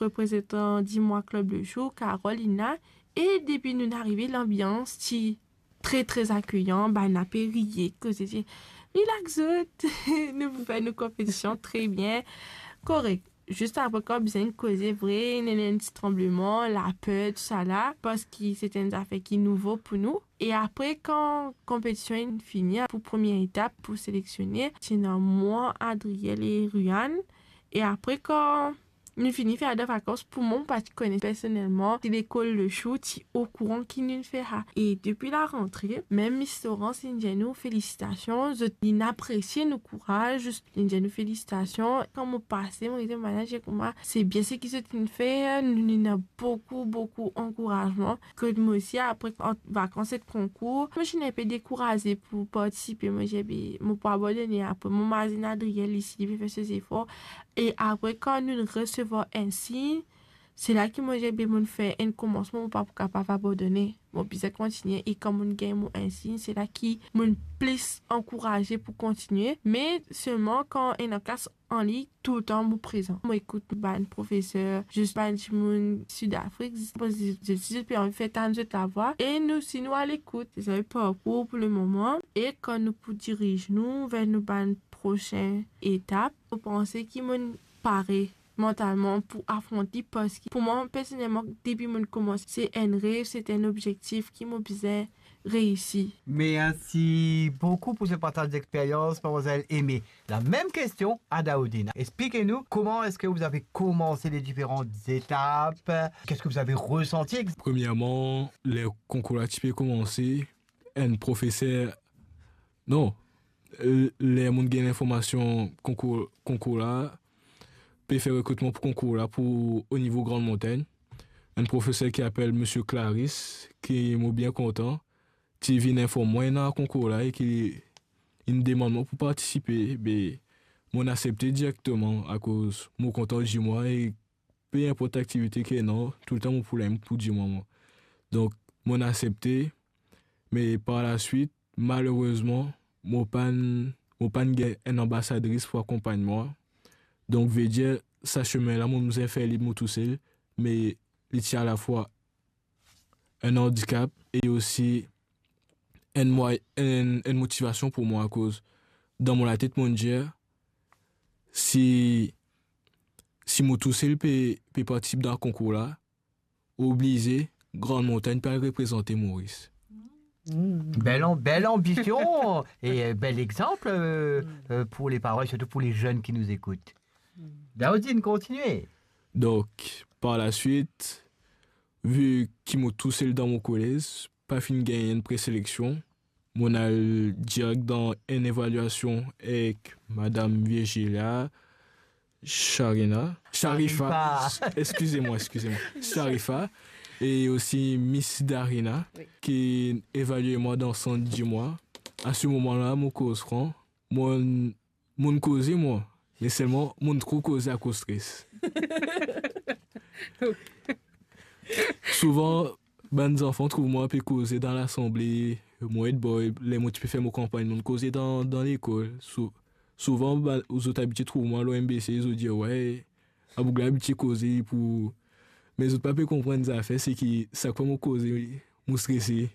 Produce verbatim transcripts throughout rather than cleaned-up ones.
reprezantan Dimwa Club Le Jour, Carole, Lina, e depi nou arive, lanbians ti tre, tre akeyan, bann la pe riye, koze, ti relax zot, nou pou fer nou konpetision tre bien, korek. Zis apre, kan bizin koze vre, ena enn ti tranbleman, laper, tousala, parski se ti enn zafer ki nouvo pou nou. E apre, kan konpetision inn fini, pou premie etap, pou seleksionnen, ti ena mwa, Adriel e Ruan. E apre, kan nou fini fer la dan vakans, pou mwa, mo pa ti kone personelman si lekol Le Jour ti okouran ki nou fer sa. E depi larantre, mem Miss Laurence inn dir nou felisitasion, zot inn apresie nou kouraz, zis inn dir nou felisitasion. Kan mo pase, mo dir mo manazer kouma se bien seki zot inn fer, nou, nou ena boukou, boukou ankourazman. Kot mo osi, apre, ant vakans ek konkour, mo ti inn inpe dekouraze pou partisipe. Mo dir, be, mo pou abandone apre. Mo mazinn Adriel isi, li pe fer so zefor. E apre, kan nou resevwar enn sign, se la ki mo dir, be, mo'nn fer enn komansman, mo pa pou kapav abandone. Mo bizin kontigne. E kan mo'nn gagn mo enn sign, se la ki mo'nn plis ankouraze pou kontigne. Me selman kan ena klas an liy, toultan mo prezan. Mo ekout bann profeser, zis bann dimoun Sid Afrik, zis, zis, zis, zis pe anvi fer tann zot lavwa. E nou osi nou alekout. Se sa parkour pou lemoman. E kan nou pou diriz nou ver nou bann prosin etap, mo panse ki mo'nn pare mantalman pou afront li, parski pou mwa, personelman, depi mo'nn koumans, se enn rev, se enn obzektif ki mo bizin reisi. Merci beaucoup pour ce partage d'expérience, mademoiselle Aimée. La même question à Daoudine. Expliquez-nous comment est-ce que vous avez commencé les différentes étapes, qu'est-ce que vous avez ressenti? Premierman, ler konkour la ti pe koumanse, enn profeser, non, l-, ler mo'nn gagn linformasion konkour, konkour la, pe fer rekritman pou konkour la, pou o nivo Grande Montagne. Enn profeser ki apel Misie Clarisse, ki mo bien kontan, ti vinn inform mwa ena konkour la e ki inn demann mwa pou partisipe, be, mo'nn asepte direkteman akoz mo kontan Dimwa e pe inport aktivite ki ena, toultan mo pou la pou Dimwa mwa. Donk, mo'nn asepte, me par laswit, malerezman, mo pa'nn, mo pa'nn gagn enn anbasadris pou akonpagn mwa. Donk, vedir, sa semin la, mo bizin fer li mo tousel, me li ti alafwa enn andikap e osi enn mwa-, enn, enn motivasion pou mwa, akoz dan mo latet, mo'nn dir, si, si mo tousel pe, pe partisip dan konkour la, oblize, Grande Montagne pe al reprezante Moris. Belle am-, belle ambition et, euh, bel exemple, euh, euh, pour les parents et surtout pour les jeunes qui nous écoutent. Daoudine, continuez. Donk, par laswit, vi ki mo tousel dan mo kolez, pa finn gagn enn preseleksion, mo'nn al direk dan enn evaliasion ek Madam Virgilia Sharina, Sharifa, Sharifa. Eskize mwa, eskize mwa, Sharifa, e osi Miss Darina, wi, ki evalie mwa dan Sant Dimwa. A se moman la, mo koz fran, mo'nn, mo'nn koze mwa, me selman mo'nn tro koze akoz stres. Souvan, bann zanfan trouv mwa pe koze dan lasanble, mo ed bwar, ler mo ti pe fer mo kanpagn, mo'nn koze dan, dan lekol. Sou-, souvan, bann, zot abitie trouv mwa lor M B C, zot dir, "Wey, a boug la abitie koze pou," me zot pa pe konprann zafer, seki sak fwa mo koze, mo strese.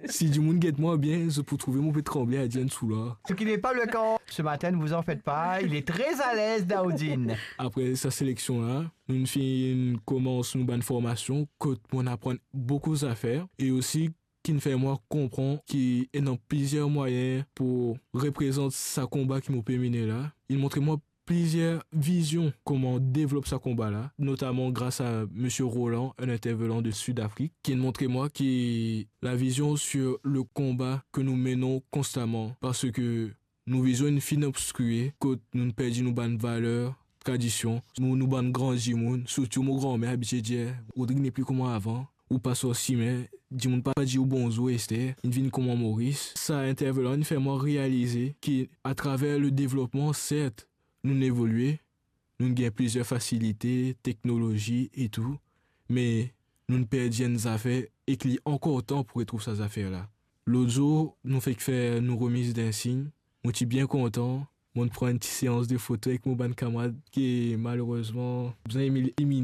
Si dimoun get mwa bien, zot pou trouve mo pe tranble, a dir enn soula. Ce qui n'est pas le cas ce matin, ne vous en faites pas, il est très à l'aise, Daoudine. Apre sa seleksion la, nou finn koumans nou bann formasion, kot mo'nn aprann boukou zafer, e osi ki'nn fer mwa konpran ki ena plizier mwayin pou reprezant sa konba ki mo pe mene la. Inn montre mwa plizier vizion kouma devlop sa konba la, notaman gras a Misie Roland, enn intervenan de Sid Afrik, ki'nn montre mwa ki lavizion sir le konba ke nou menon konstaman, parski nou vizion inn finn obskir, kot nou'nn perdi nou bann valer, tradision, nou, nou bann gran dimoun, sirtou mo granmer abitie dir, "Rodrig nepli kouma avan, ou pa sort sime, dimoun pa dir ou bonzour ester, inn vinn kouma Moris." Sa intervenan inn fer mwa realize ki atraver le devlopman, sert, nou'nn evolie, nou'nn gagn plizier fasilite, teknolozi e tou, me nou'nn perdi enn zafer ek li ankor tan pou retrouv sa zafer la. Lot zour, nou fek fer nou remiz d'insign, mo ti bien kontan, mo'nn pran enn ti seans de foto ek mo bann kamarad ki malerezman bizin imil-, imil-,